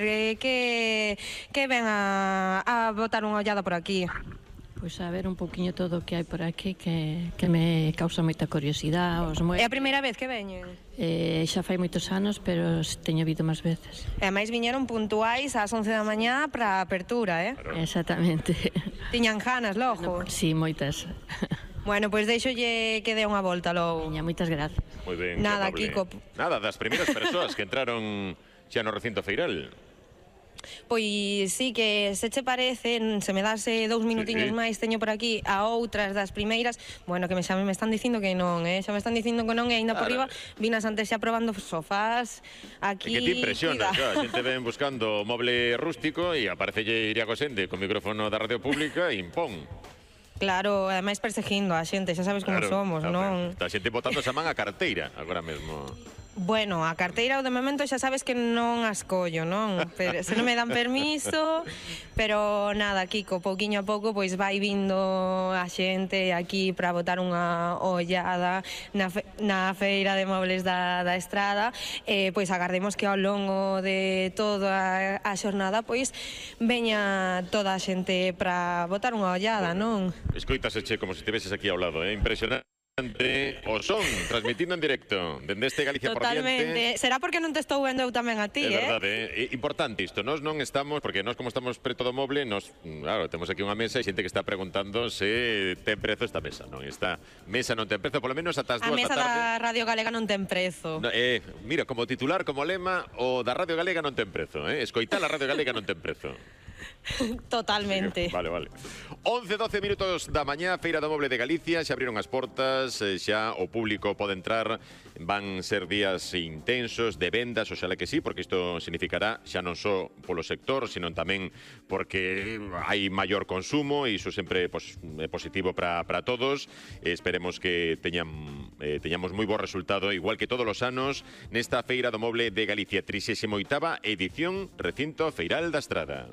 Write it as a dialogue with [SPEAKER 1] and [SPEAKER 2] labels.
[SPEAKER 1] que ven a botar unha ollada por aquí.
[SPEAKER 2] Pois a ver un poquinho todo o que hai por aquí que me causa moita curiosidade.
[SPEAKER 1] É a primeira vez que veñen?
[SPEAKER 2] Xa fai moitos anos, pero teño vido máis veces.
[SPEAKER 1] E máis viñeron puntuais ás 11 da mañá para a apertura,
[SPEAKER 2] Claro. Exactamente.
[SPEAKER 1] Tiñan ganas logo?
[SPEAKER 2] Sí, moitas.
[SPEAKER 1] Bueno, pois deixolle que dé unha volta logo.
[SPEAKER 2] Miña, moitas gracias.
[SPEAKER 3] Moi ben,
[SPEAKER 1] Nada,
[SPEAKER 3] que
[SPEAKER 1] Kiko.
[SPEAKER 3] Nada, das primeiras persoas que entraron xa no recinto feiral.
[SPEAKER 1] Pois sí, que se che parece, se me dase 2 minutiños máis, teño por aquí a outras das primeiras, bueno, que xa me están dicindo que non, xa me están dicindo que non, e ainda por riba vinas antes xa probando sofás aquí.
[SPEAKER 3] E que te impresiona, a xente ven buscando moble rústico e aparecelle Iria Cosende con micrófono da radio pública e impón.
[SPEAKER 1] Claro, ademais perseguindo a xente, xa sabes como somos, non?
[SPEAKER 3] Está a xente botando esa man a carteira agora mesmo.
[SPEAKER 1] Bueno, a carteira de momento xa sabes que non as collo, non? Pero se non me dan permiso, pero nada, Kiko, pouquiño a pouco pois vai vindo a xente aquí para botar unha ollada na feira de mobles da Estrada, pois agardemos que ao longo de toda a xornada pois veña toda a xente para botar unha ollada, non?
[SPEAKER 3] Escoítaseche como se estiveses aquí ao lado, impresionante. O son, transmitindo en directo dende este Galicia por diante.
[SPEAKER 1] Totalmente, será porque non te estou vendo eu tamén a ti,
[SPEAKER 3] É verdade, importante isto, nós non estamos, porque nós como estamos preto do moble, nós, claro, temos aquí unha mesa e xente que está preguntando se ten prezo esta mesa, non? Esta mesa non ten prezo, polo menos ata as 2 da tarde.
[SPEAKER 1] A mesa da Radio Galega non ten prezo.
[SPEAKER 3] Mira, como titular, como lema, o da Radio Galega non ten prezo, escoitar a Radio Galega non ten prezo.
[SPEAKER 1] Totalmente.
[SPEAKER 3] Vale. 11-12 minutos da mañá, Feira do Moble de Galicia, xa abriron as portas, xa o público pode entrar, van ser días intensos de vendas, oxalá que sí, porque isto significará xa non só polo sector, sino tamén porque hai maior consumo e iso sempre é positivo para todos. Esperemos que teñamos moi bo resultado, igual que todos os anos, nesta Feira do Moble de Galicia, 38ª edición, Recinto Feiral da Estrada.